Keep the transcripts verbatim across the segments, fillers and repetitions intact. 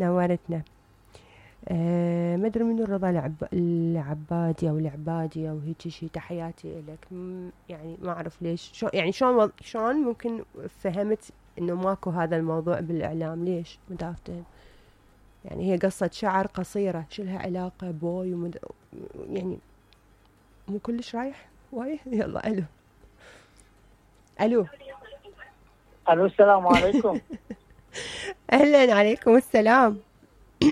نورتنا. أه ما ادري منو رضا العب... العبادي او العبادي او هيك شيء، تحياتي لك. يعني ما اعرف ليش، شو يعني شلون شلون ممكن فهمت انه ماكو هذا الموضوع بالاعلام؟ ليش ما افتهم؟ يعني هي قصة شعر قصيرة، شو لها علاقة بوي ومد... يعني مو كلش رايح واي. يلا الو الو الو السلام عليكم. اهلا، عليكم السلام.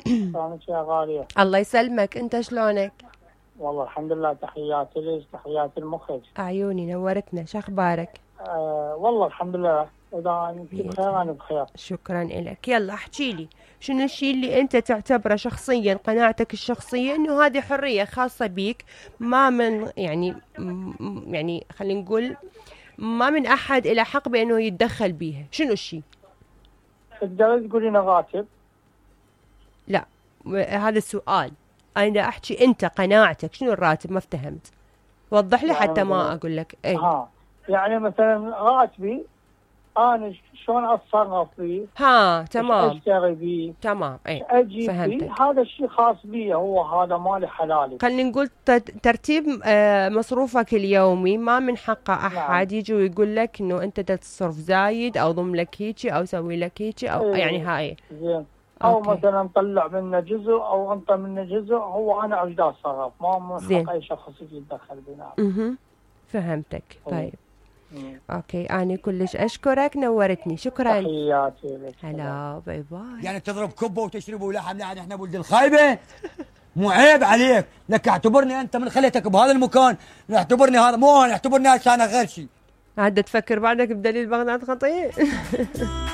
شلونك يا غالية؟ الله يسلمك، انت شلونك؟ والله الحمد لله، تحياتي لك، تحياتي المخرج. عيوني نورتنا، شو اخبارك؟ آه والله الحمد لله، اذا انت بخير انا بخير. شكرا لك. يلا احكي لي، شنو الشيء اللي انت تعتبره شخصيا، قناعتك الشخصيه انه هذه حريه خاصه بيك، ما من يعني يعني خلينا نقول ما من احد له حق بانه يتدخل بيها؟ شنو الشيء؟ تقدر تقولين راتب؟ لا هذا السؤال، انا احكي انت قناعتك شنو الراتب، ما افتهمت، وضح لي يعني حتى ما اقول لك. اي ها يعني مثلا راتبي انا شلون اتصرف فيه؟ ها تمام، اشتري بيه، تمام، اي اجيب فهمتك. بيه، هذا الشيء خاص بي، هو هذا مالي حلالي. خلينا نقول ترتيب مصروفك اليومي، ما من حقه احد يجي ويقول لك انه انت تصرف زايد او ضم لك هيجي او سوي لك هيجي او إيه يعني هاي. زين. او أوكي. مثلا نطلع منه جزء او انطى منه جزء، هو انا ايش دا اتصرف، ما من حق اي شخص يجي يتدخل بينا. اها فهمتك. طيب مم. اوكي، انا كلش اشكرك، نورتني، شكرا. تحياتي لك. هلا باي باي. يعني تضرب كبه وتشربوا لحم؟ يعني احنا ولد الخايبه؟ مو عيب عليك؟ لك اعتبرني انت من خليتك بهذا المكان، اعتبرني هذا مو انا، اعتبرني هسه انا غير شيء. عاد تفكر بعدك بدليل بغداد خطير.